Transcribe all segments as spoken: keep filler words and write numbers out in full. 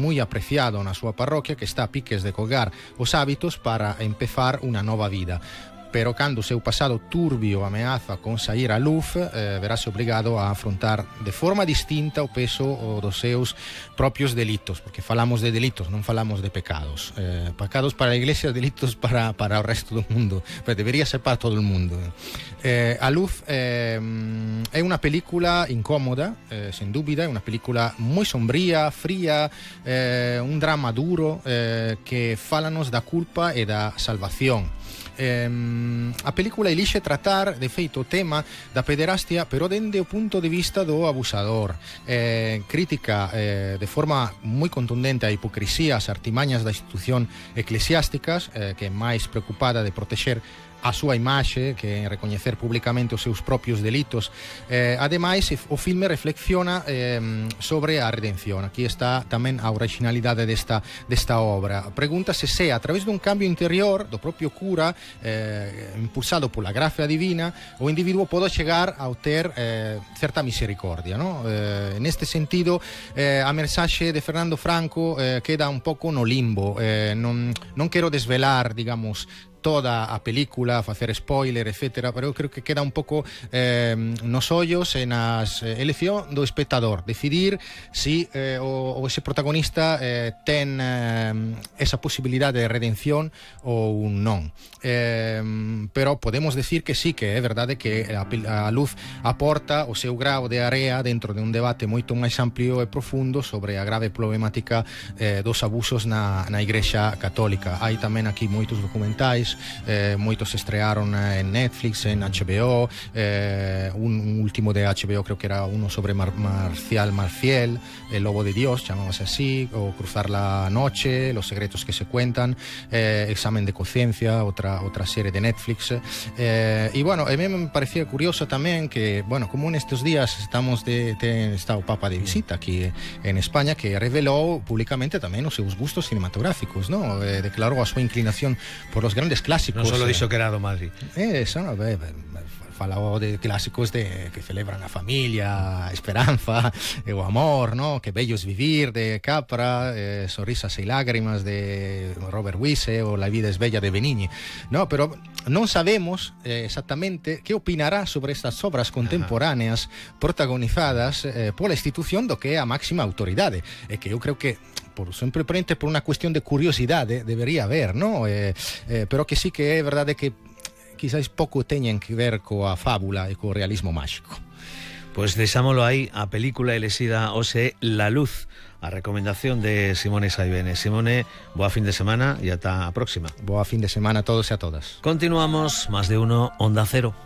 moi apreciado na súa parroquia, que está a piques de colgar os hábitos para empezar unha nova vida. Pero cando o seu pasado turbio ameaza con sair á luz, eh, verase obrigado a afrontar de forma distinta o peso o dos seus propios delitos, porque falamos de delitos, non falamos de pecados. Eh, pecados para a Iglesia, delitos para, para o resto do mundo, pero debería ser para todo o mundo. Eh, a luz eh, é unha película incómoda, eh, sen dúbida, é unha película moi sombría, fría, eh, un drama duro eh, que fálanos da culpa e da salvación. Eh, a película elixe tratar de feito o tema da pederastia, pero dende o punto de vista do abusador. Eh, crítica eh, de forma moi contundente a hipocrisía, as artimañas da institución eclesiásticas, eh, que é máis preocupada de protexer a súa imaxe que recoñecer públicamente os seus propios delitos. Eh, ademais, o filme reflexiona eh, sobre a redención. Aquí está tamén a originalidade desta, desta obra. Pregúntase se a través dun cambio interior do propio cura, eh, impulsado pola gracia divina, o individuo pode chegar a ter eh, certa misericordia, no? Eh, neste sentido, eh, a mensaxe de Fernando Franco eh, queda un pouco no limbo. Eh, non, non quero desvelar, digamos, toda a película, facer spoiler, etcétera, pero eu creo que queda un pouco eh, nos ollos e nas eh, elección do espectador decidir si eh, o, o ese protagonista eh, ten eh, esa posibilidade de redención ou non. Eh, pero podemos decir que sí, que é verdade que a, a luz aporta o seu grao de area dentro de un debate moito máis amplio e profundo sobre a grave problemática eh, dos abusos na, na Igrexa Católica. Hai tamén aquí moitos documentais. Eh, moitos se estrearon en Netflix, en H B O, eh, un, un último de H B O creo que era uno sobre Mar Marcial Marfiel, El Lobo de Dios, llamábase así, o Cruzar la Noche, Los secretos que se cuentan, eh, Examen de conciencia, otra, otra serie de Netflix. Eh, y bueno, a mí me parecía curioso tamén que, bueno, como en estos días estamos de, de está o Papa de visita aquí en España, que revelou públicamente tamén os seus gustos cinematográficos, ¿no? Eh, declarou a súa inclinación por los grandes clásicos. Non solo dixo que era do Madrid. Eh, eso, no, beh, falou de clásicos de que celebran a familia, a esperanza, e o amor, ¿no? Que bello es vivir, de Capra, eh, Sonrisas e lágrimas de Robert Wise, o La vida es bella de Benigni, ¿no? Pero non sabemos eh, exactamente que opinará sobre estas obras contemporáneas protagonizadas eh, pola institución do que é a máxima autoridade, e que eu creo que por simplemente por unha cuestión de curiosidade debería haber, ¿no? Eh, eh, pero que sí que é verdade que quizás pouco teñen que ver coa fábula e co realismo máxico. Pois deixámolo aí, a película elexida hoxe La Luz, a recomendación de Simone Saibene. Simone, boa fin de semana e ata a próxima. Boa fin de semana a todos e a todas. Continuamos, Más de Uno, Onda Cero.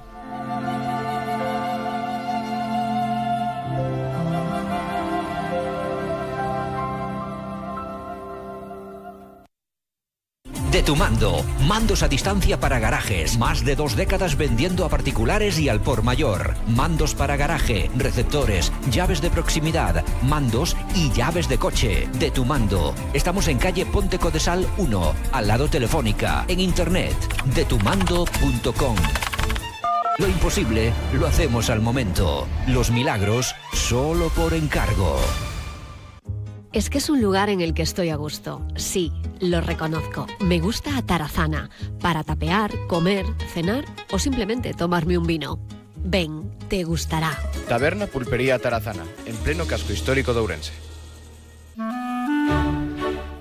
De Tu Mando, mandos a distancia para garajes, más de dos décadas vendiendo a particulares y al por mayor. Mandos para garaje, receptores, llaves de proximidad, mandos y llaves de coche. De Tu Mando. Estamos en calle Ponte Codesal uno, al lado Telefónica, en internet, de tu mando punto com. Lo imposible lo hacemos al momento. Los milagros solo por encargo. Es que es un lugar en el que estoy a gusto. Sí, lo reconozco. Me gusta Atarazana, para tapear, comer, cenar o simplemente tomarme un vino. Ven, te gustará. Taberna Pulpería Atarazana, en pleno casco histórico de Ourense.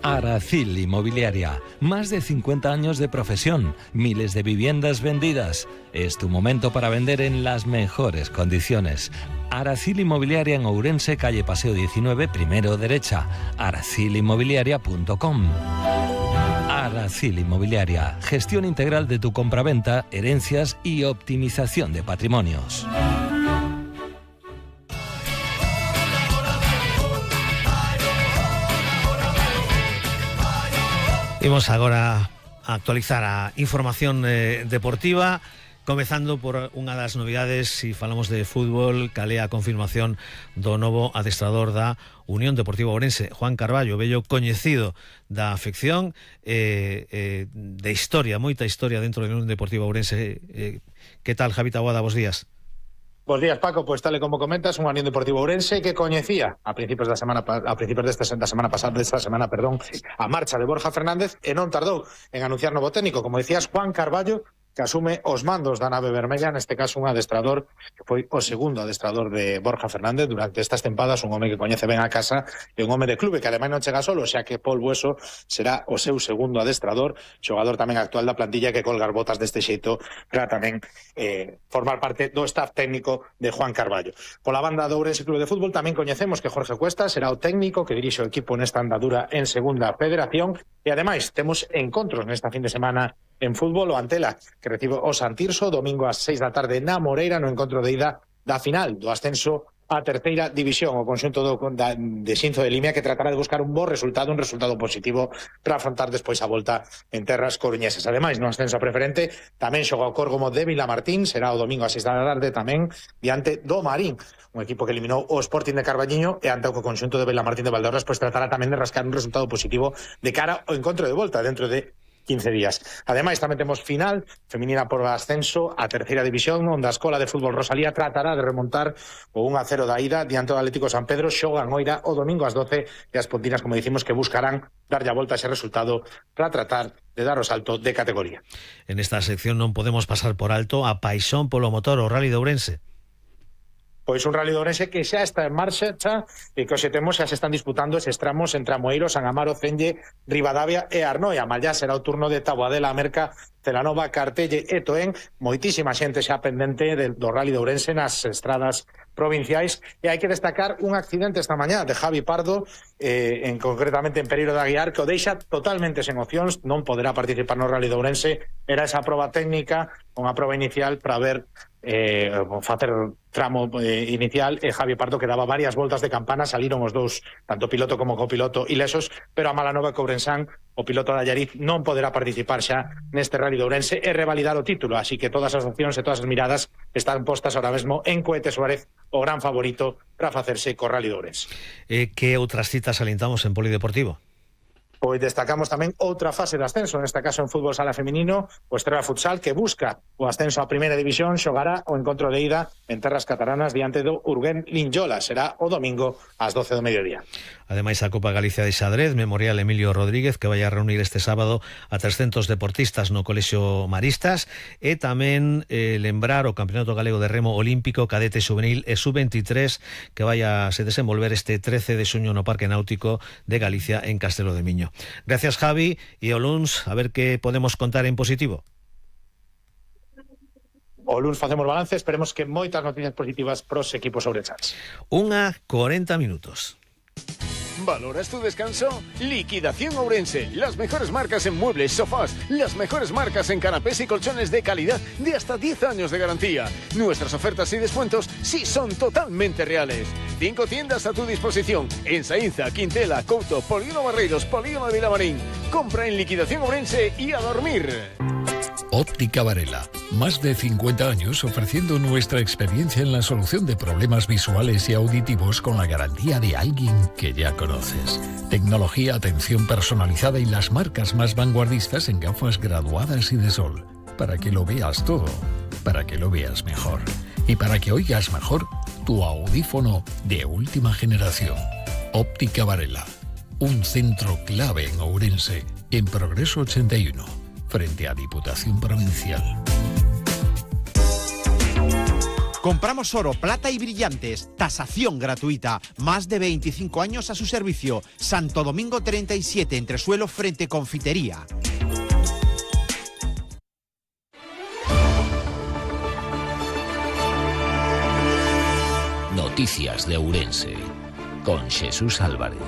Aracil Inmobiliaria, más de cincuenta años de profesión, miles de viviendas vendidas. Es tu momento para vender en las mejores condiciones. Aracil Inmobiliaria en Ourense, calle Paseo diecinueve, primero derecha, aracil inmobiliaria punto com. Aracil Inmobiliaria, gestión integral de tu compraventa, herencias y optimización de patrimonios. Imos agora a actualizar a información eh, deportiva, comezando por unha das novidades. Se si falamos de fútbol, calea a confirmación do novo adestrador da Unión Deportiva Ourense, Juan Carballo, vello coñecido da afección, eh, eh, de historia, moita historia dentro da Unión Deportiva Ourense. Eh, que tal, Javi Taboada, bos días? Bos días, Paco. Pois tal e como comentas, unha Unión Deportivo Ourense que coñecía a principios da semana a principios desta da semana pasada, desta semana, perdón, a marcha de Borja Fernández e non tardou en anunciar novo técnico, como decías, Juan Carballo, que asume os mandos da nave vermella, neste caso un adestrador que foi o segundo adestrador de Borja Fernández durante estas tempadas, un home que coñece ben a casa e un home de clube que ademais non chega solo, xa que Paul Bueso será o seu segundo adestrador, xogador tamén actual da plantilla que colgar botas deste xeito para tamén eh, formar parte do staff técnico de Juan Carballo. Pola banda do Ourense Clube de Fútbol tamén coñecemos que Jorge Cuesta será o técnico que dirixe o equipo nesta andadura en segunda federación e ademais temos encontros nesta fin de semana en fútbol. O Antela que recibe o Santirso domingo ás seis da tarde na Moreira no encontro de ida da final do ascenso a terceira división, o conxunto do, da, de Xinzo de Limia, que tratará de buscar un bo resultado, un resultado positivo para afrontar despois a volta en terras coruñesas. Ademais, no ascenso preferente tamén xoga o Córgomo de Vilamartín, será o domingo ás seis da tarde tamén diante do Marín, un equipo que eliminou o Sporting de Carballiño e ante o conxunto de Vilamartín de Valdeorras, pois tratará tamén de rascar un resultado positivo de cara ao encontro de volta dentro de quince días. Ademais, tamén temos final feminina por ascenso a terceira división, onde a Escola de Fútbol Rosalía tratará de remontar o un a cero da ida diante do Atlético San Pedro. Xogan oira o domingo ás doce e as pontinas, como dicimos, que buscarán darlle a volta a ese resultado para tratar de dar o salto de categoría. En esta sección non podemos pasar por alto a paixón polo motor, o Rally de Ourense. Pois un Rally de Ourense que xa está en marcha xa, e que hoxe temos xa se están disputando eses tramos entre Amoeiro, San Amaro, Cenge, Ribadavia e Arnoia. Mal será o turno de Taboadela, Merca, Celanova, Cartelle e Toén. Moitísima xente xa pendente de, do Rally de Ourense nas estradas provinciais, e hai que destacar un accidente esta mañá de Javi Pardo, eh, en concretamente en Pereiro de Aguiar, que o deixa totalmente sen opcións, non poderá participar no Rally de Ourense. Era esa proba técnica, unha proba inicial para ver eh, facer tramo eh, inicial, e Javi Pardo que daba varias voltas de campana, saliron os dous, tanto piloto como copiloto, ilesos, pero a mala nova que Ourensán, o piloto da Allariz, non poderá participar xa neste Rally de Ourense e revalidar o título, así que todas as opcións e todas as miradas están postas ahora mesmo en Cohete Suárez, o gran favorito para facerse co Rally de Ourense. Eh, que outras citas alentamos en Polideportivo? Pois destacamos tamén outra fase de ascenso, neste caso en fútbol sala feminino, o Estrela Futsal, que busca o ascenso a primeira división, xogará o encontro de ida en terras catalanas diante do Urguén Linyola. Será o domingo ás doce do mediodía. Ademais, a Copa Galicia de Xadrez, Memorial Emilio Rodríguez, que vai a reunir este sábado a trescentos deportistas no Colexio Maristas, e tamén eh, lembrar o Campeonato Galego de Remo Olímpico, Cadete Juvenil e sub veintitrés, que vai a se desenvolver este trece de xuño no Parque Náutico de Galicia en Castelo de Miño. Gracias, Javi, e o luns a ver que podemos contar en positivo. O luns facemos balance, esperemos que moitas noticias positivas pros equipos ourensans. Unha cuarenta minutos. ¿Valoras tu descanso? Liquidación Ourense. Las mejores marcas en muebles, sofás, las mejores marcas en canapés y colchones de calidad de hasta diez años de garantía. Nuestras ofertas y descuentos sí son totalmente reales. Cinco tiendas a tu disposición en Saínza, Quintela, Couto, Polígono Barreiros, Polígono de Vilamarín. Compra en Liquidación Ourense y a dormir. Óptica Varela, más de cincuenta años ofreciendo nuestra experiencia en la solución de problemas visuales y auditivos con la garantía de alguien que ya conoces. Tecnología, atención personalizada y las marcas más vanguardistas en gafas graduadas y de sol. Para que lo veas todo, para que lo veas mejor. Y para que oigas mejor, tu audífono de última generación. Óptica Varela, un centro clave en Ourense, en Progreso ochenta y uno. Frente a Diputación Provincial. Compramos oro, plata y brillantes. Tasación gratuita. Más de veinticinco años a su servicio. Santo Domingo treinta y siete, entresuelo frente Confitería. Noticias de Ourense con Jesús Álvarez.